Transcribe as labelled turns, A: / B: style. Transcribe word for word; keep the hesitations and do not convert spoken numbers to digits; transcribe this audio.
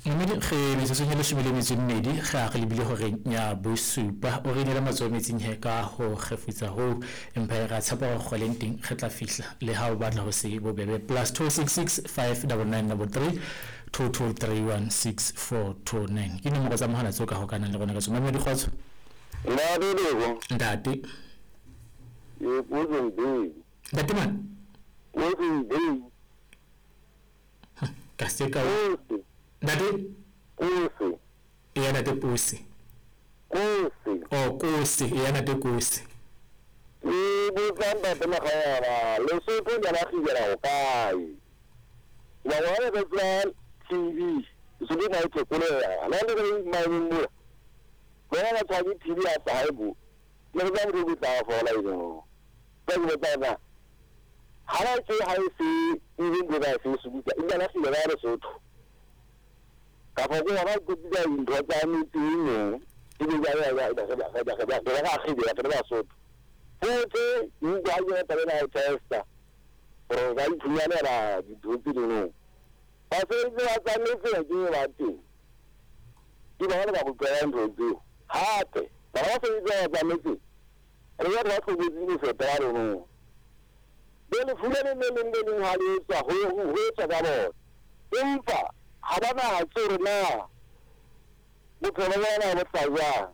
A: Mmedi re metsotsong e leshome le metso e mmedi re a re lebile horeng ya bosupa. O re inele matsoho metsing he ka ho kgefutsa hoo, empa re a tshepa hore kgweleng teng re tla fihla le ha o batla ho se bobebe. Plus two six six five double nine double three two two three one six four two nine ke nomoro tsa mohala tseo ka hokanang le rona ka tsona. Mamedi kgotso.
B: Ntate Lebo.
A: Ntate.
B: Ke Potsong Bay.
A: Ntate man.
B: Potsong Bay.
A: Ka se ka.
B: Kose.
A: Ntate.
B: Kose.
A: Eya ntate Kose.
B: Kose.
A: Oh Kose, eya ntate Kose.
B: Ke botsa ntate Makganyana, Lesotho le la kgibela ho kae? Ba bona ba tswa T V, Lesotho na e thekoleha. La le re mining mola. Bona ba tswa ke T V ya sa haebo. Le re tla motho tla fola eno. Ba ke botsa na. Ha ba ke ha e se even go ba se se butsa, e la kgibela Lesotho. Ka fa go ba go bitsa dintho tsa metse eno, e be ya ya ya ya ya ya ya ya ya kgibela ke Lesotho. Futhi utlwa ke taba ena ya testa gore ba iphumanela dintho tse dingwe. Basebetsi ba tsametse ke ba teng. Ke bona ba go tlwaela ntho tseo. Hape ba ba sebetsi ba tsametse re ya ba tlhobotse go feta ba rona. Be lefu le leng le leng le leng ha le etswa ho ho etswa ka bona. Empa ha ba na tsore na bophelo ba bona bo tla jwang.